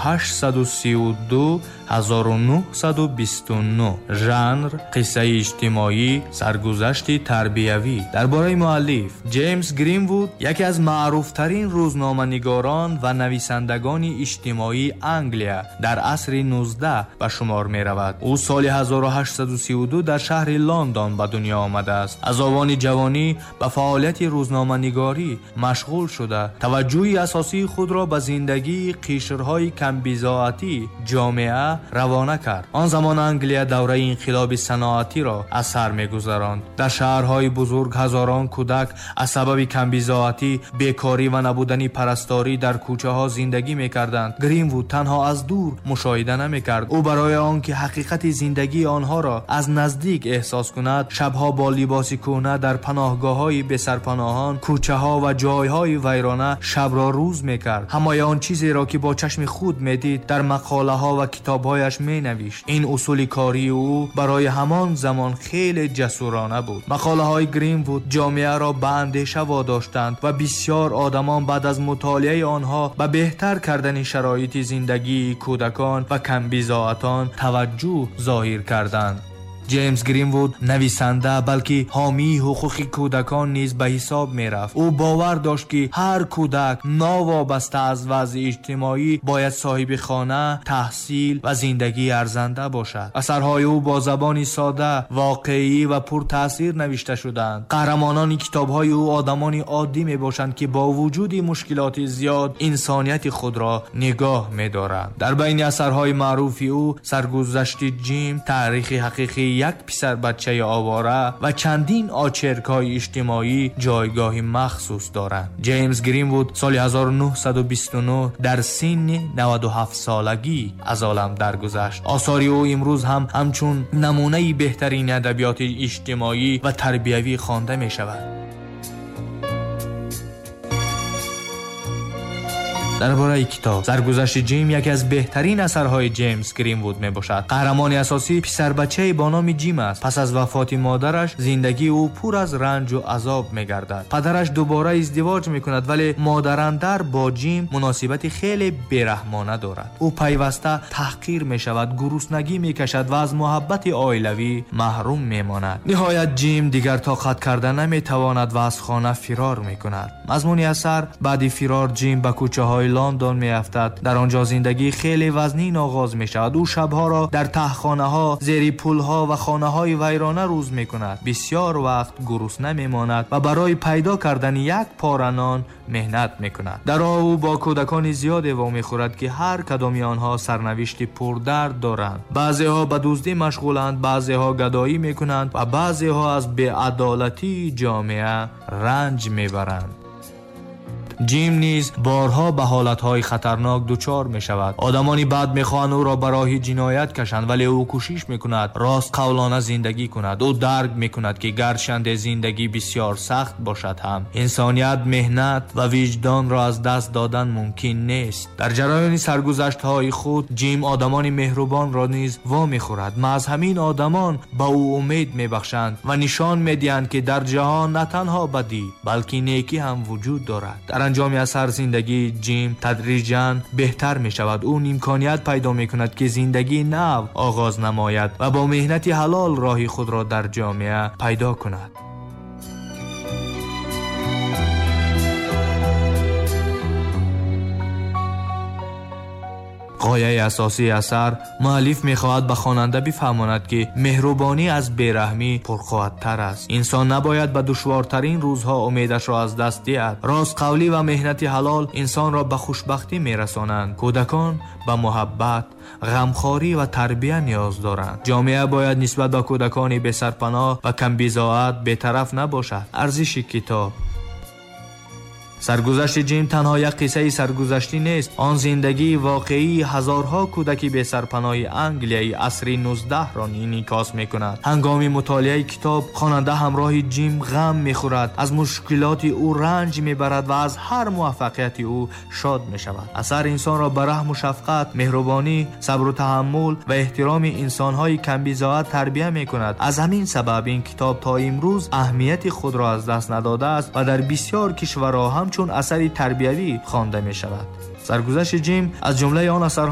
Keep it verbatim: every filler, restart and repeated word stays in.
ҳаштсаду сию ду ҳазору нӯҳсаду бисту нӯҳ. Жанр қиссаи иҷтимоӣ, саргузашти тарбиявӣ. Дар бораи муаллиф Ҷеймс Гринвуд яке аз маъруфтарин рӯзноманигорон ва нависандагони иҷтимоии Англия дар асри нуздаҳ ба шумор меравад. Ӯ соли ҳазору ҳаштсаду сию ду дар шаҳри Лондон ба дунё омадааст. Аз овони ҷавонӣ ба фаъолияти рӯзноманигорӣ машғул шуда, таваҷҷӯҳи асосии худро ба зиндагии қишрҳои камбизоатӣ ҷомеа равона кард. Он замон Англия давраи инқилоби саноатиро аз сар мегузаронд. Дар шаҳрҳои бузург ҳазорон кӯдак аз сабаби камбизоатӣ, бекорӣ ва набудани парасторӣ дар кӯчаҳо зиндагӣ мекарданд. Гринвуд танҳо аз дур мушоҳида намекард. Ӯ барои он ки ҳақиқати зиндагии онҳоро аз наздик эҳсос кунад, шабҳо бо либоси кӯҳна дар паноҳгоҳҳои бесарпаноҳон, кӯчаҳо ва ҷойҳои вайрона шабро рӯз мекард. Ҳамаи он чизеро ки бо чашми худ медид, дар мақолаҳо ва китобҳояш менавишт. Ин усули кории ӯ барои ҳамон замон хеле ҷасурона буд. Мақолаҳои Гринвуд ҷомеаро ба андеша водоштанд ва бисёр одамон баъд аз мутолиаи онҳо ба беҳтар кардани шароити зиндагии кӯдакон ва камбизоатон таваҷҷӯҳ зоҳир карданд. Ҷеймс Гринвуд нависанда, балки ҳомии ҳуқуқи кӯдакон низ ба ҳисоб мерафт. Ӯ бовар дошт, ки ҳар кӯдак новобаста аз вазъи иҷтимоӣ бояд соҳиби хона, таҳсил ва зиндагии арзанда бошад. Асарҳои ӯ бо забони сода, воқеӣ ва пуртаъсир навишта шуданд. Қаҳрамонони китобҳои ӯ одамони оддӣ мебошанд, ки бо вуҷуди мушкилоти зиёд инсонияти худро нигоҳ медоранд. Дар байни асарҳои маъруфи ӯ Саргузашти Ҷим, таърихи ҳақиқии як писарбачаи овора ва чандин очеркҳои иҷтимоӣ ҷойгоҳи махсус доранд. Ҷеймс Гринвуд соли ҳазору нӯҳсаду бисту нӯҳ дар синни наваду ҳафт солагӣ аз олам даргузашт. Осори ӯ имрӯз ҳам ҳамчун намунаи беҳтарини адабиёти иҷтимоӣ ва тарбиявӣ хонда мешавад. Дар бораи китоб Саргузашти Ҷим яке аз беҳтарин асарҳои Ҷеймс Гринвуд мебошад. Қаҳрамони асосӣ писарбачае бо номи Ҷим аст. Пас аз вафоти модараш зиндагии ӯ пур аз ранҷу азоб мегардад. Падараш дубора издивоҷ мекунад, вале модарандар бо Ҷим муносибати хеле бераҳмона дорад. Ӯ пайваста таҳқир мешавад, гуруснагӣ мекашад ва аз муҳаббати оилавӣ маҳрум мемонад. Ниҳоят Ҷим дигар тоқат карда наметавонад ва аз хона фирор мекунад. Мазмуни асар: баъди фирор Ҷим ба кӯчаҳои Лондон меафтад. Дар он ҷо зиндагии хеле вазнин оғоз мешавад. Ӯ шабҳоро дар таҳхонаҳо, зери пулҳо ва хонаҳои вайрона рӯз мекунад. Бисёр вақт гурусна мемонад ва барои пайдо кардани як пора нон меҳнат мекунад. Дар роҳ ӯ бо кӯдакони зиёде вомехӯрад, ки ҳар кадоми онҳо сарнавишти пурдард доранд. Баъзеҳо ба дуздӣ машғуланд, баъзеҳо гадоӣ мекунанд ва баъзеҳо аз беадолатии ҷомеа ранҷ мебаранд. Ҷим низ борҳо ба ҳолатҳои хатарнок дучор мешавад. Одамони бад мехоҳанд ӯро ба роҳи ҷиноят кашанд, вале ӯ кӯшиш мекунад ростқавлона зиндагӣ кунад. Ӯ дарк мекунад, ки гарчанде зиндагӣ бисёр сахт бошад ҳам, инсоният, меҳнат ва виҷдонро аз даст додан мумкин нест. Дар ҷараёни саргузаштҳои худ Ҷим одамони меҳрубонро низ вомехӯрад. Маҳз ҳамин одамон ба ӯ умед мебахшанд ва нишон медиҳанд, ки дар ҷаҳон на танҳо бадӣ, балки некӣ ҳам вуҷуд дорад. Дар анҷоми асар зиндагии Ҷим тадриҷан беҳтар мешавад. Ӯ имконият пайдо мекунад, ки зиндагии нав оғоз намояд ва бо меҳнати ҳалол роҳи худро дар ҷомеа пайдо кунад. Ғояи асосии асар: муаллиф мехоҳад ба хонанда бифаҳмонад, ки меҳрубонӣ аз бераҳмӣ пурқувваттар аст. Инсон набояд ба душвортарин рӯзҳо умедашро аз даст диҳад. Ростқавлӣ ва меҳнати ҳалол инсонро ба хушбахтӣ мерасонанд. Кӯдакон ба муҳаббат, ғамхорӣ ва тарбия ниёз доранд. Ҷомеа бояд нисбат ба кӯдакони бесарпаноҳ ва камбизоат бетараф набошад. Арзиши китоб: Саргузашти Ҷим танҳо як қиссаи саргузаштӣ нест. Он зиндагии воқеии ҳазорҳо кӯдаки бесарпаноҳи Англияи асри нуздаҳро инъикос мекунад. Ҳангоми мутолиаи китоб хонанда ҳамроҳи Ҷим ғам мехӯрад, аз мушкилоти ӯ ранҷ мебарад ва аз ҳар муваффақияти ӯ шод мешавад. Асар инсонро ба раҳму шафқат, меҳрубонӣ, сабру таҳаммул ва эҳтироми инсонҳои камбизоат тарбия мекунад. Аз ҳамин сабаб ин китоб то имрӯз аҳамияти худро аз даст надодааст ва дар бисёр кишварҳо ҳамчун асари тарбиявӣ хонда мешавад. Саргузашти Ҷим аз ҷумлаи он асарҳо